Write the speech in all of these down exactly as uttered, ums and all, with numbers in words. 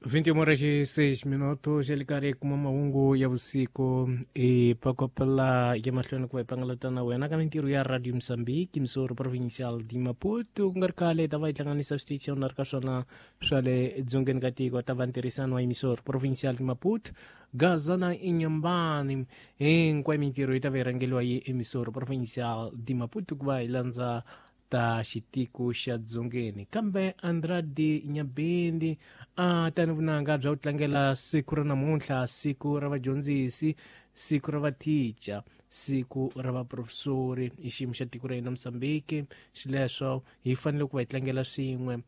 vinte e uma horas e seis minutos xa le karhi kuma mahungu ya vusiku i pakopela ya mahlweni ku va hi pangalata na wena ka mintirho ya Radio Mozambique Missori Provincial de Maputo ku nga ri khale hi ta va hi hlanganisa switichi na ri ka swona swa le dzongeni ka tiko ta va ntirhisano wa Missori Provincial de Maputo Gaza na Inhambane hinkwayo mintirho yi ta va yi rhangeriwa hi Missori Provincial de Maputo ku va hi landza ta xitiko xa dzongeni kambe Andrade Nyabindi a tani vunanga bya ku tlangela siku ra namuntlha siku ra vadyondzisi siku ra vathicha siku ra vaprofesori hi xiyimo xa tiko ra hina Mozambique xileswo hi fanele ku va hi tlangela swin'we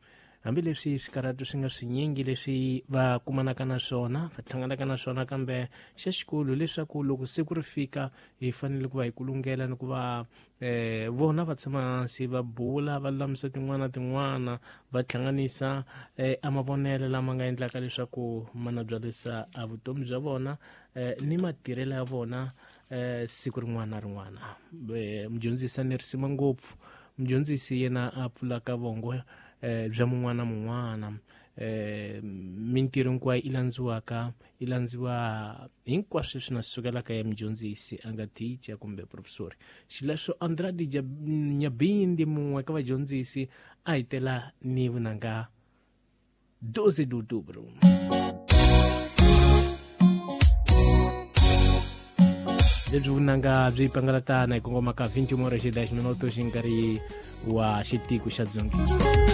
hambileswi swikarhato swi nga swinyingi leswi va kumanaka na swona va hlanganaka na swona kambe xa xikolo leswaku loko siku ri fika hi fanele ku va hi kulungela ni ku va eh vona va tshama hansi va bula va lulamisa tin'wana tin'wana va hlanganisa eh, a mavonelo lama nga endlaka leswaku ma na byalisa a vutomi bya vona eh, ni matirhelo ya vona eh, siku rin'wana na rin'wana. Eh, mudyondzisi a ni risima ngopfu mudyondzisi yena a pfulaka vongo eh, bya mun'wana na mun'wana eh, mintirho hinkwayo i landziwaka i landziwa hinkwaswo leswi na sukelaka ya mudyondzisi a nga teacher kumbe professor xileswo Andrade Nyabindi mun'we ka vadyondzisi a hi tela ni vunanga doze de outubro. Lebyi vunanga byi pangalatana hi kongoma ka vinte e uma horas e dez minutos hi nkarhi wa xitiko xa dzongeni.